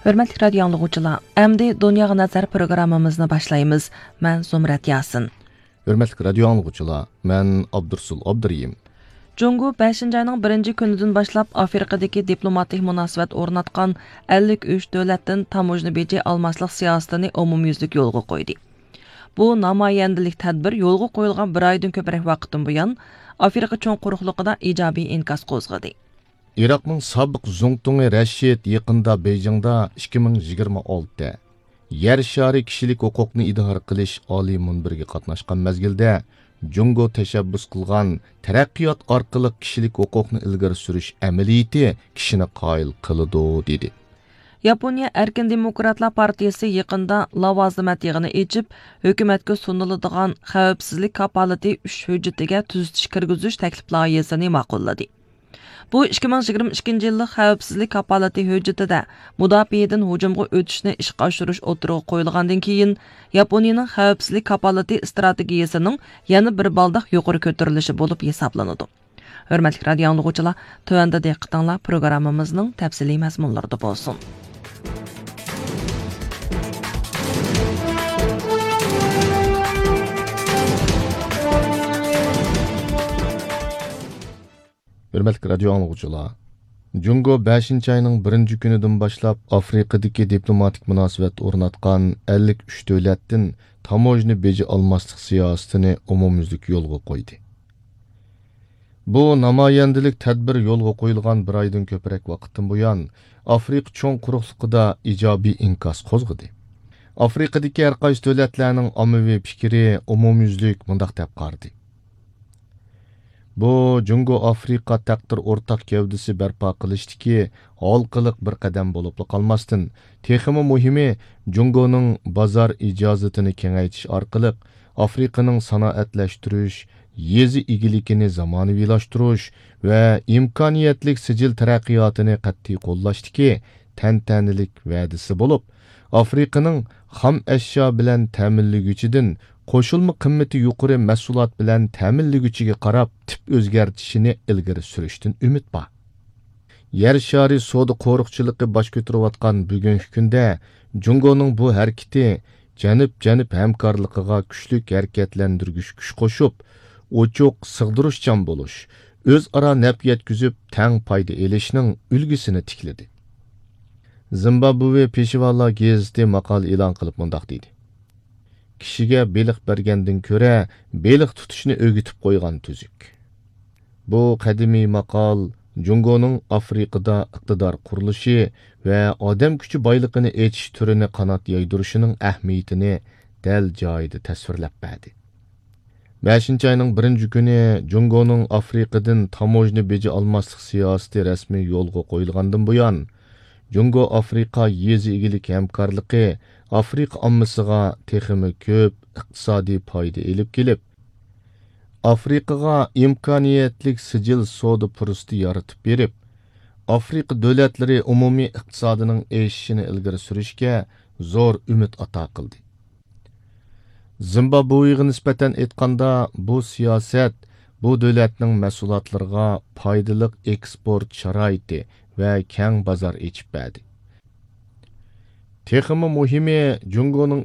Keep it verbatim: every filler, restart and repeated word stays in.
ھۆرمەتلىك رادىيو ئاڭلىغۇچىلار، ئەمدى دۇنياغا نەزەر پروگراممىمىزنى باشلايمىز. مەن زۇمرەت ياسىن. ھۆرمەتلىك رادىيو ئاڭلىغۇچىلار، مەن ئابدۇرسۇل ئابدۇرېھىم. جۇڭگو بەشىنچى ئاينىڭ بىرىنچى كۈنىدىن باشلاپ ئافرىقىدىكى دىپلوماتىك مۇناسىۋەت ئورناتقان ئەللىك ئۈچ دۆلەتتىن تاموژنا بېجى ئالماسلىق سىياسىتىنى ئومۇميۈزلۈك يولغا قويدى. بۇ نامايەندىلىك تەدبىر يولغا قويۇلغان بىر ئايدىن كۆپرەك ۋاقىتتىن بۇيان ئافرىقا چوڭ قۇرۇقلۇقىدا ئىجابىي ئىنكاس قوزغىدى. ئىراقنىڭ سابىق زۇڭتۇڭى رەشىد يېقىندا بېيجىڭدا ئىككى مىڭ يىگىرمە ئالتە يەر شارى كىشىلىك ھوقۇقنى ئىدارە قىلىش ئالىي مۇنبىرىگە قاتناشقان مەزگىلدە، جۇڭگو تەشەببۇس قىلغان تەرەققىيات ئارقىلىق كىشىلىك ھوقۇقنى ئىلگىرى سۈرۈش ئەمەلىيىتى كىشىنى قايىل قىلىدۇ، دېدى. ياپونىيە ئەركىن دېموكراتلار پارتىيىسى يېقىندا لاۋازىمەت يىغىنى ئېچىپ، ھۆكۈمەتكە سۇنۇلىدىغان خەۋپسىزلىك كاپالىتى ئۈچ ھۆججىتىگە تۈزىتىش كىرگۈزۈش تەكلىپ لايىھەسىنى ماقۇللىدى. بۇ ئىككى مىڭ يىگىرمە ئىككىنچى يىللىق خەۋپسىزلىك كاپالىتى ھۆججىتىدە مۇداپىئەدىن ھۇجۇمغا ئۆتۈشنى ئىشقا ئاشۇرۇش ئوتتۇرىغا قويۇلغاندىن كېيىن، ياپونىيىنىڭ خەۋپسىزلىك كاپالىتى ئىستراتېگىيىسىنىڭ يەنە بىر بالداق يۇقىرى كۆتۈرۈلۈشى بولۇپ ھېسابلىنىدۇ. ھۆرمەتلىك رادىيو ئاڭلىغۇچىلار، تۆۋەندە دىققىتىڭلار پروگراممىمىزنىڭ تەپسىلىي مەزمۇنلىرىدا بولسۇن. ھۆرمەتلىك رادىيو ئاڭلىغۇچىلار، جۇڭگو بەشىنچى ئاينىڭ بىرىنچى كۈنىدىن باشلاپ ئافرىقىدىكى دىپلوماتىك مۇناسىۋەت ئورناتقان ئەللىك ئۈچ دۆلەتتىن تاموژنا بېجى ئالماسلىق سىياسىتىنى ئومۇميۈزلۈك يولغا قويدى. بۇ نامايەندىلىك تەدبىر يولغا قويۇلغان بىر ئايدىن كۆپرەك ۋاقىتتىن بۇيان، ئافرىقا چوڭ قۇرۇقلۇقىدا ئىجابىي ئىنكاس قوزغىدى. ئافرىقىدىكى ھەر قايسى دۆلەتلەرنىڭ ئاممىۋى پىكرى ئومۇميۈزلۈك مۇنداق دەپ قارىدى. بۇ جۇڭگو ئافرىقا تەقدىر ئورتاق گەۋدىسى بەرپا قىلىشتىكى ھالقىلىق بىر قەدەم بولۇپلا قالماستىن، تېخىمۇ مۇھىمى، جۇڭگونىڭ بازار ئىجازىتىنى كېڭەيتىش ئارقىلىق ئافرىقىنىڭ سانائەتلەشتۈرۈش، يېزا ئىگىلىكىنى زامانىۋىلاشتۇرۇش ۋە ئىمكانىيەتلىك سىجىل تەرەققىياتىنى قەتئىي قوللاشتىكى تەنتەنىلىك ۋەدىسى بولۇپ، ئافرىقىنىڭ خام ئەشيا بىلەن تەمىنلىگۈچىدىن قوشۇلما قىممىتى يۇقىرى مەھسۇلات بىلەن تەمىنلىگۈچىگە قاراپ تىپ ئۆزگەرتىشىنى ئىلگىرى سۈرۈشتىن ئۈمىد بار. يەر شارى سودا قورۇقچىلىقى باش كۆتۈرۈۋاتقان بۈگۈنكى كۈندە، جۇڭگونىڭ بۇ ھەرىكىتى جەنۇب-جەنۇب ھەمكارلىقىغا كۈچلۈك ھەرىكەتلەندۈرگۈچ كۈچ قوشۇپ، ئوچۇق، سىغدۇرۇشچان بولۇش، ئۆزئارا نەپ يەتكۈزۈپ، تەڭ پايدا ئېلىشنىڭ ئۈلگىسىنى تىكلىدى. زىمبابۋې پېشىۋالار گېزىتى ماقالە ئېلان قىلىپ مۇنداق دېدى: كىشىگە بېلىق بەرگەندىن كۆرە، بېلىق تۇتۇشنى ئۆگىتىپ قويغان تۈزۈك. بۇ قەدىمىي ماقال جۇڭگونىڭ ئافرىقىدا ئىقتىدار قۇرۇلۇشى ۋە ئادەم كۈچى بايلىقىنى ئېچىش تۈرىنى قانات يايدۇرۇشىنىڭ ئەھمىيىتىنى دەل جايىدا تەسۋىرلەپ بەردى. بەشىنچى ئاينىڭ بىرىنچى كۈنى جۇڭگونىڭ ئافرىقىدىن تاموژنا بېجى ئالماسلىق سىياسىتى رەسمىي يولغا قويۇلغاندىن بۇيان، جۇڭگو ئافرىقا يېزا ئىگىلىك ھەمكارلىقى ئافرىقا ئاممىسىغا تېخىمۇ كۆپ ئىقتىسادىي پايدا ئېلىپ كېلىپ، ئافرىقىغا ئىمكانىيەتلىك سىجىل سودا پۇرسىتى يارىتىپ بېرىپ، ئافرىقا دۆلەتلىرى ئومۇمىي ئىقتىسادىنىڭ ئېشىشىنى ئىلگىرى سۈرۈشكە زور ئۈمىد ئاتا قىلدى. زىمبابۋېغا نىسبەتەن ئېيتقاندا، بۇ سىياسەت بۇ دۆلەتنىڭ مەھسۇلاتلىرىغا پايدىلىق ئېكسپورت شارائىتى ۋە كەڭ بازار ئېچىپ بەردى. تېخىمۇ مۇھىمى، جۇڭگونىڭ